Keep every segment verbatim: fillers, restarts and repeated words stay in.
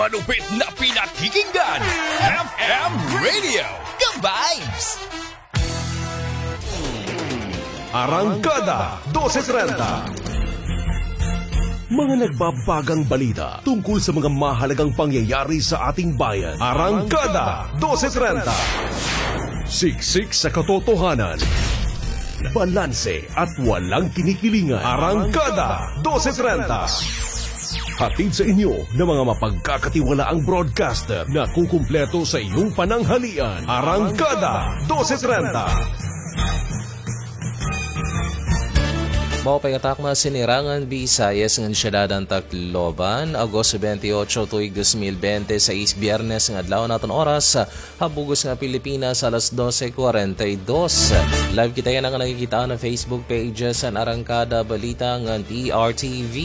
Malupit na pinakikinggan, F M Radio, Ka-Vibes! Arangkada, dose trenta. Mga nagbabagang balita tungkol sa mga mahalagang pangyayari sa ating bayan. Arangkada, dose trenta. Siksik sa katotohanan. Balanse at walang kinikilingan. Arangkada, dose trenta. Hatid sa inyo ng mga mapagkakatiwalaang broadcaster na kukumpleto sa iyong pananghalian. Arangkada, dose trenta. Maupay nga takna, sinirangan Visayas ngan siyudad han Tacloban, Agosto twenty-eight, tuig dos mil bente sais, Biyernes nga adlaw, an aton oras ha bug-os nga Pilipinas, alas dose cuarenta y dos. Live kita yana nga nakikitaan ha Facebook pages han Arangkada Balita ngan P R T V.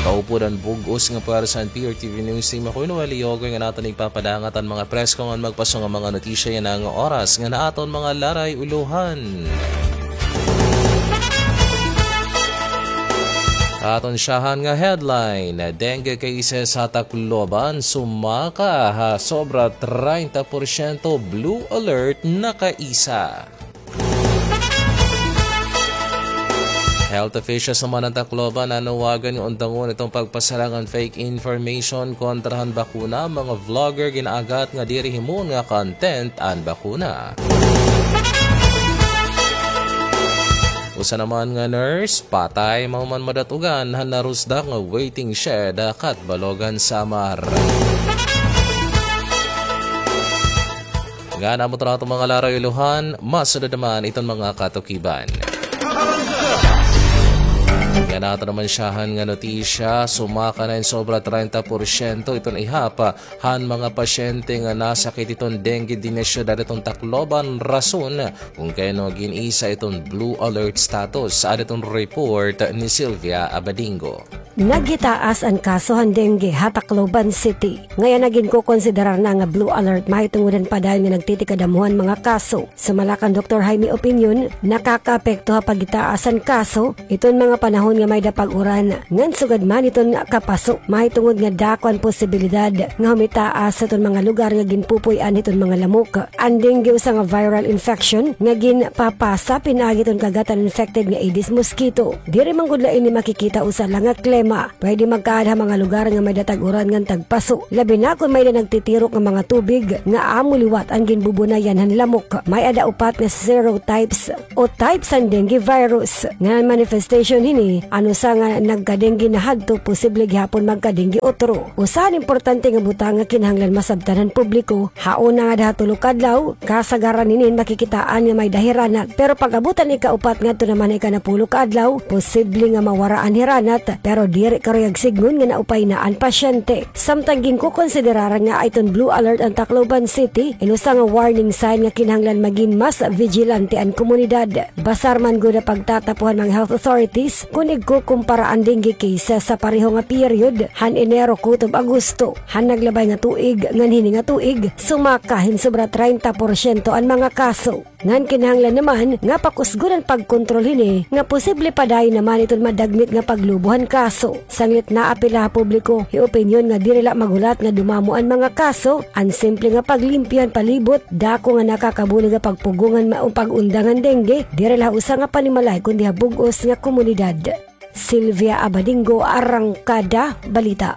Kaupod an bug-os nga puwersa han P R T V News Team. Ako hi Noel Yogoy nga aton igpapadangat an mga presko ngan magpaso nga mga notisya yana nga oras ngan ha aton mga laray-ulohan. Aton syahan nga headline, dengue cases ha Tacloban sumaka ha sobra treinta porsyento, blue alert na kaisa. Health officials naman han Tacloban nanawagan nga undangon iton pagpasarang han fake information kontra han bakuna. Mga vlogger gin-aaghat nga diri himuon nga content an bakuna. Usa naman nga nurse patay mahuman madat-ugan han narusdak nga waiting shed ha Catbalogan, Samar. Ngan amo ito na aton mga laray-ulohan, masunod naman iton mga katukiban. Ngan aton naman syahan nga notisya, sumaka na hin sobra treinta porsyento iton ihap han mga pasyente nga nasakit hiton dengue dinhi ha syudad hiton Tacloban, rason kon kay ano gin-isa iton blue alert status. Ada iton report ni Sylvia Abadingo. Naghitaas an kaso han dengue ha Tacloban City. Ngay-an na ginkokonsiderar na nga blue alert mahitungod han padayon nga nagtitikadamuhan mga kaso. Sumala kan Doktor Jaime Opinion, nakakaapekto ha paghitaas han kaso iton mga panahon nga may-ada pag-uran, ngan sugad man iton kapaso, mahitungod nga dako an posibilidad nga humitaas iton mga lugar nga ginpupuy-an hiton mga lamok. An dengue usa nga viral infection nga ginpapasa pinaagi hiton kagatan infected nga Aedes mosquito. Diri man gud la ini makikita usa la nga klema. Pwede magkaada ha mga lugar nga may-ada tag-uran ngan tagpaso, labi na kon may-ada nagtitirok nga mga tubig nga amo liwat an ginbubunayan han lamok. May-ada upat nga serotypes o types han dengue virus. Ngan an manifestation hini, an usa nga nagka-dengue nahadto, posible gihapon magka-dengue utro. Usa han importante nga butang nga kinahanglan masabtan han publiko, ha una ngada ha tulo ka adlaw, kasagaran hini makikitaan nga may-ada hiranat. Pero pag-abot han ikaupat ngadto naman ha ikanapulo ka adlaw, posible nga mawara an hiranat, pero diri karuyag sidngon nga naupay na an pasyente. Samtang ginkokonsiderar nga iton blue alert an Tacloban City, in usa nga warning sign nga kinahanglan magin mas vigilante an komunidad. Basar man gud ha pagtatapo han mga health authorities kon igkukumpara an dengue cases sa pareho nga period han Enero kutob Agosto. Han naglabay nga tuig ngan hini nga tuig, sumaka hin sobra treinta porsyento an mga kaso. Ngan kinahanglan naman nga pakusgon an pagkontrol hini nga posible padayon naman iton madagmit nga paglubo han kaso. Sanglit naa pila ha publiko hi opinyon nga diri la maghulat nga dumamo an mga kaso, an simple nga paglimpyo han palibot, dako nga nakakabulig ha pagpugongan ma-, o pag-undang han dengue, diri la ha usa nga panimalay kundi ha bug-os nga komunidad. Sylvia Abadingo, Arangkada Balita.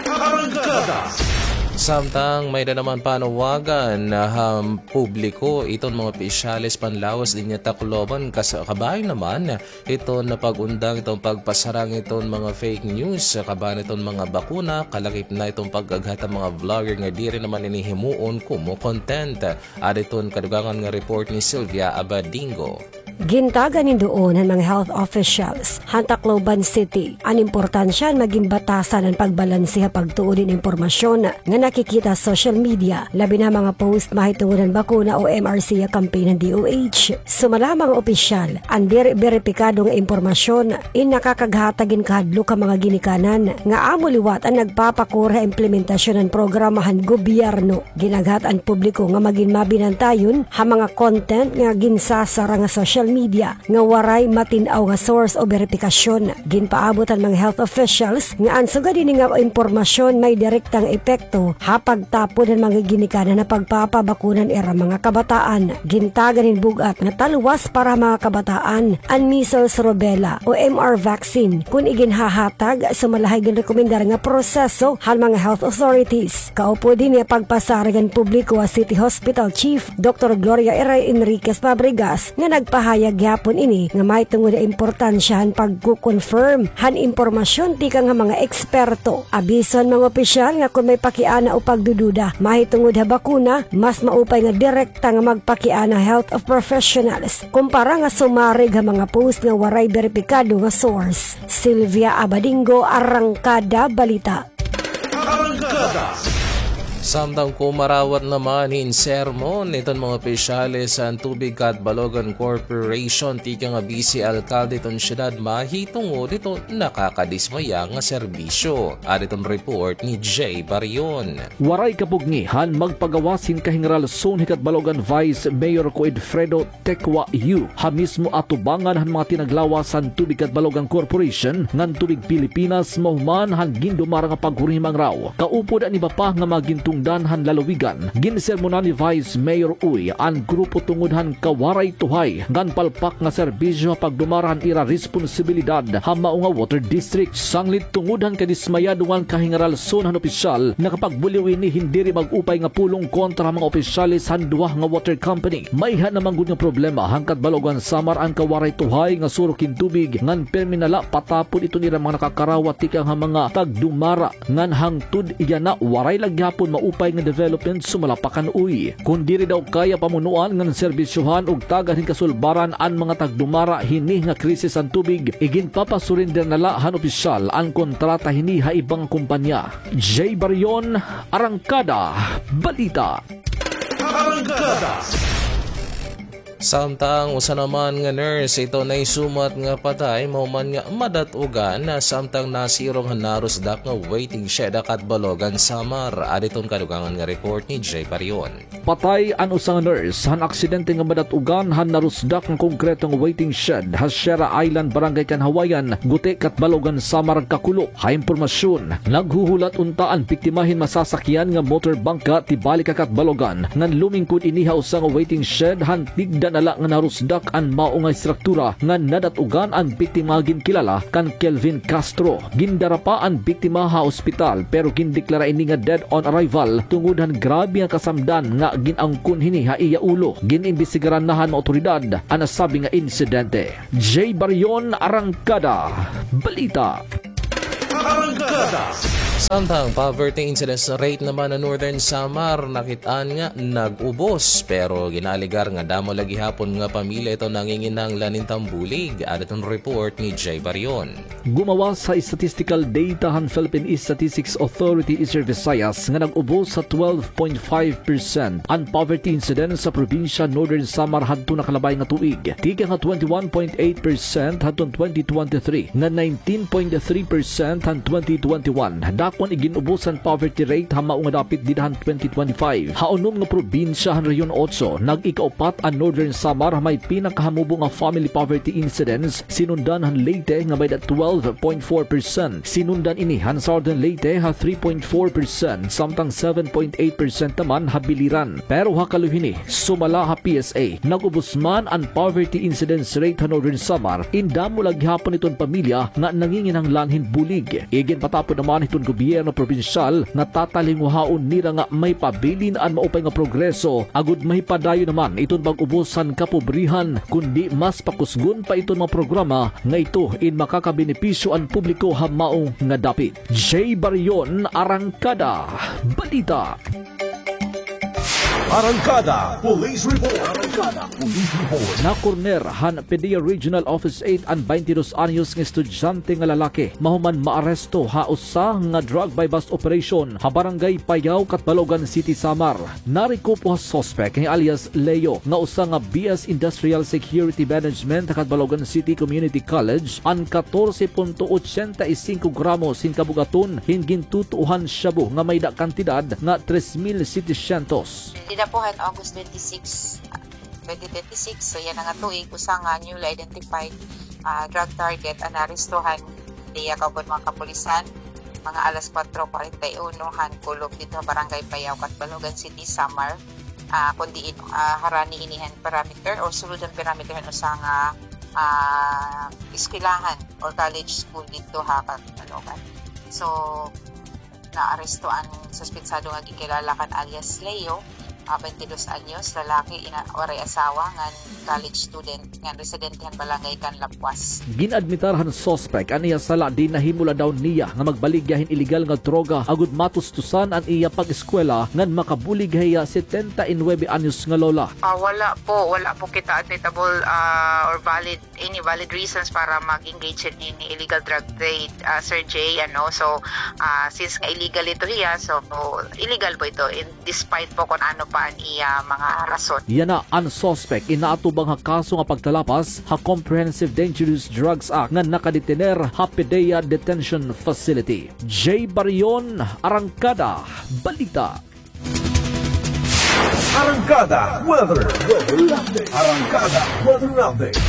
Arangkada. Samtang may-ada naman panawagan ha publiko iton mga opisyales panlawas dinhi ha Tacloban kas-, kabahin naman iton pag-undang iton pagpasarang iton mga fake news, kabahin iton mga bakuna, kalakip na iton pag-aghat han mga vlogger nga diri naman ini himuon komo content. Ada iton kadugangan nga report ni Sylvia Abadingo. Gintagan hin duon han mga health officials han Tacloban City an importansya han magin batasan an pagbalanse ha pagtuo hin impormasyon nga nakikita ha social media, labi na ha mga post mahitungod han bakuna o M R C campaign han D O H. Sumala ha mga opisyal, an diri beripikado nga impormasyon in nakakaghatag hin kahadlok ha mga ginikanan nga amo liwat an nagpapakuri ha implementasyon han programa han gobyerno. Gin-aghat an publiko nga magin mabinantayon ha mga content nga ginsasarang ha social media nga waray matin-aw nga source o beripikasyon. Ginpaabot han mga health officials nga an sugad hini nga impormasyon may direktang epekto ha pagtapod han mga ginikanan nga pagpapabakuna han ira mga kabataan. Gintagan hin bug-at nga talwas para ha mga kabataan an measles, rubella o M R vaccine kon iginhahatag sumala ha ginrekomendar nga proseso han mga health authorities. Kaupod hini an pagpasarig han publiko ha City Hospital Chief Doktor Gloria Ira Enriquez Fabregas nga nagpahayag gihapon ini nga mahitungod ha importansya han pagko-confirm han impormasyon tikang ha mga eksperto. Abiso han mga opisyal nga kon may pakiana o pagdududa mahitungod ha bakuna, mas maupay nga direkta nga magpakiana ha health of professionals kumpara nga sumarig ha mga post nga waray beripikado nga source. Sylvia Abadingo, Arangkada Balita. Arangkada. Samtang kumarawat naman hin sermon iton mga opisyales han Tubig Catbalogan Corporation tikang ha bise alkalde iton syudad mahitungod hiton nakakadismaya nga serbisyo. Adi iton report ni Jay Barion. Waray kapugngi han magpagawas hin kahingaralson hi Catbalogan Vice Mayor Coedfredo Tecua Yu ha mismo atubangan han mga tinaglawas han Tubig Catbalogan Corporation ngan Tubig Pilipinas mahuman han gindumara nga paghurihimangaraw. Kaupod an iba pa nga mga gintungdan han lalawigan, ginsermonan ni Vice Mayor Uy an grupo tungod han kawaray tuhay ngan palpak nga serbisyo ha pagdumara han ira responsibilidad ha mao nga water district. Sanglit tungod han kadismayado ngan kahingaralson han opisyal, nakapagbuliw ini hin diri mag-upay nga pulong kontra ha mga opisyales han duha nga water company. Mayha na man gud nga problema han Catbalogan, Samar an kawaray tuhay nga surok hin tubig ngan pirme na la patapod iton ira mga nakakarawat tikang ha mga tagdumara ngan hangtod yana waray la gihapon maupay nga development sumala pa kan Uy. Kon diri daw kaya pamunuan ngan serbisyohan ug tagan hin kasulbaran an mga tagdumara hini nga krisis han tubig, iginpapasurinder na la han opisyal an kontrata hini ha iba nga kompanya. Jay Barion, Arangkada Balita. Arangkada. Samtang usa naman nga nurse ito nahisumat nga patay mahuman nga madat-ugan na samtang nasirong han narusdak nga waiting shed ha Catbalogan, Samar. Adi iton kadugangan nga report ni Jay Barion. Patay an usa nga nurse han aksidente nga madat-ugan han narusdak nga konkreto nga waiting shed ha Sierra Island, Barangay Kanhawayan, Guti, Catbalogan, Samar, kakulop. Ha impormasyon, naghuhulat unta an biktima hin masasakyan nga motor bangka tibalik ha Catbalogan ngan lumingkod ini ha usa nga waiting shed han tigda na la nga narusdak an mao nga estruktura ngan nadat-ugan an biktima nga ginkilala kan Kelvin Castro. Gindara pa an biktima ha ospital pero gindeklara ini nga dead on arrival tungod han grabe nga kasamdan nga gin-angkon hini ha iya ulo. Gin-imbestigaran na han mga awtoridad an nasabi nga insidente. Jay Barion, Arangkada Balita. Arangkada. Samtang poverty incidence rate naman han Northern Samar nakit-an nga nag-ubos, pero ginaalegar nga damo la gihapon nga pamilya ito nanginginahanglan hin tambulig. Adi iton report ni Jay Barion. Gumawas ha statistical data han Philippine Statistics Authority, Eastern Visayas, nga nag-ubos ha twelve point five percent an poverty incidence ha probinsya Northern Samar hadto nakalabay nga tuig, tikang ha twenty-one point eight percent hadton twenty twenty-three ngan nineteen point three percent han twenty twenty-one. Dako an igin-ubos han poverty rate ha mao nga dapit dida han twenty twenty-five. Ha unom nga probinsya han Rehiyon Otso, nag-ikaupat an Northern Samar ha may pinakahamubo nga family poverty incidence, sinundan han Leyte nga may da twelve point four percent. Sinundan ini han Southern Leyte ha three point four percent, samtang seven point eight percent naman ha Biliran. Pero ha kaluy hini, sumala ha P S A, nag-ubos man an poverty incidence rate ha Northern Samar, in damo la gihapon iton pamilya nga nanginginahanglan hin bulig. Iginpatapod naman hiton gobyerno probinsyal nga tatalingwahaon nira nga may pabilin an maupay nga progreso agod mahipadayon naman iton pag-ubos han kapobrihan, kundi mas pakusgon pa iton mga programa nga ito in makakabenepisyo an publiko ha mao nga dapit. Jay Barion, Arangkada Balita. Arangkada Police Report. Arangkada Police Report. Nakorner han PDEA Regional Office eight an baynte dos anyos nga estudyante nga lalaki mahuman maaresto ha usa nga drug buy-bust operation ha Barangay Payao, Catbalogan City, Samar. Narekupo ha suspek nga alias Leo nga usa nga B S Industrial Security Management ha Catbalogan City Community College an katorse punto ochenta y singko gramos hin kabug-aton hin gintutuohan shabu nga may da kantidad nga tres mil setecientos. Dida po han August twenty-six, twenty twenty-six. So yana nga tuig, usa nga newly identified, ah, drug target an naarestohan diya kaupod mga kapulisan, mga alas kwatro kwarenta y uno han kulop didto ha Barangay Payaw, Catbalogan City, Samar. Ah, kon diin, ah, harani ini han parameter o sulod han parameter han usa nga, ah, eskwelahan or college school didto ha Catbalogan. So, naaresto an suspetsado nga ginkilala kan alias Leo, ah, twenty-dos anyos, lalaki, ina-, waray asawa, ngan college student, ngan residente han Balangay kan Lapuas. Gin-admitar han suspek an iya sala, diin nahimo la daw niya nga magbaligya hin iligal nga droga agod matustusan an iya pag-eskwela ngan makabulig ha iya setenta y nuebe anyos nga lola. Ah, wala po, wala po kita admittable, ah, or valid, any valid reasons para mag-engage hin ini illegal drug trade, ah, Sir Jay, ano. So, ah, since nga illegal ito hiya, so illegal po ito, in despite po kon ano pa an iya mga rason. Yana, an suspek inaatubang ha kaso nga pagtalapas ha Comprehensive Dangerous Drugs Act nga nakadetener ha PDEA Detention Facility. Jay Barion, Arangkada Balita. Arangkada Weather. Arangkada Weather Update.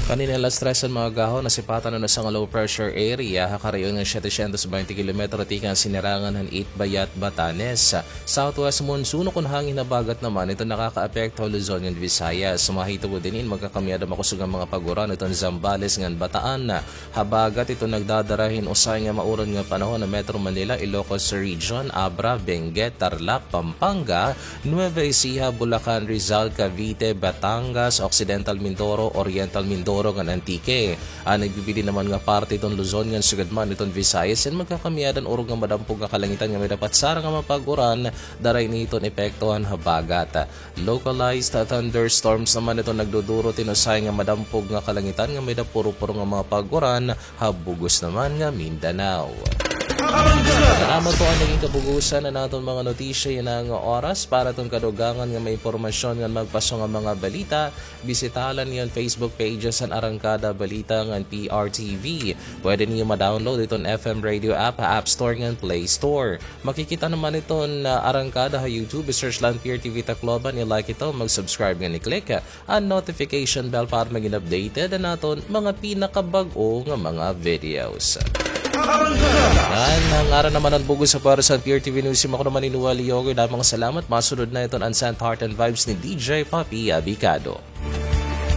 Kanina alas tres han mga agahon, nasipatan an usa nga low pressure area ha karayon nga siyete syentos baynte kilometro tikang sinirangan han Itbayat, Batanes. Southwest monsoon o kon hangin habagat naman, ito nakakaapekto ha Luzon ngan Visayas. Mahitungod hini, magkakamiyada makusog nga mga pag-uran iton Zambales ngan Bataan. Habagat ito nagdadara hin usahay nga mauran nga panahon ha Metro Manila, Ilocos Region, Abra, Benguet, Tarlac, Pampanga, Nueva Ecija, Bulacan, Rizal, Cavite, Batangas, Occidental Mindoro, Oriental Mindoro ngan Antique. An nagbibilin naman nga parte iton Luzon ngan sugad man iton Visayas, in magkakamiyadan urog nga madampog nga kalangitan nga may dapat sara nga mga pag-uran, dara ini iton epekto han habagat. Localized thunderstorms naman iton nagduduro hin usahay nga madampog nga kalangitan nga may da puro-puro nga mga pag-uran ha bug-os naman nga Mindanao. Salamat po, an nagin kabug-osan han aton mga notisya yana nga oras. Para iton kadugangan nga mga impormasyon ngan magpaso nga mga balita, bisitaha la niyo an Facebook pages han Arangkada Balita ngan P R T V. Pwede niyo ma-download iton F M Radio app ha App Store ngan Play Store. Makikita naman iton, ah, Arangkada ha YouTube. I-search la an P R T V Tacloban, i-like ito, mag-subscribe ngan i-click an notification bell para magin updated an aton mga pinakabag-o nga mga videos. Ngan ha ngaran naman han bug-os nga pwersa han P R T V News, ako naman hi Noel Yogo, damo nga salamat. Masunod na iton an Saint Heart and Vibes ni D J Papi Abicado.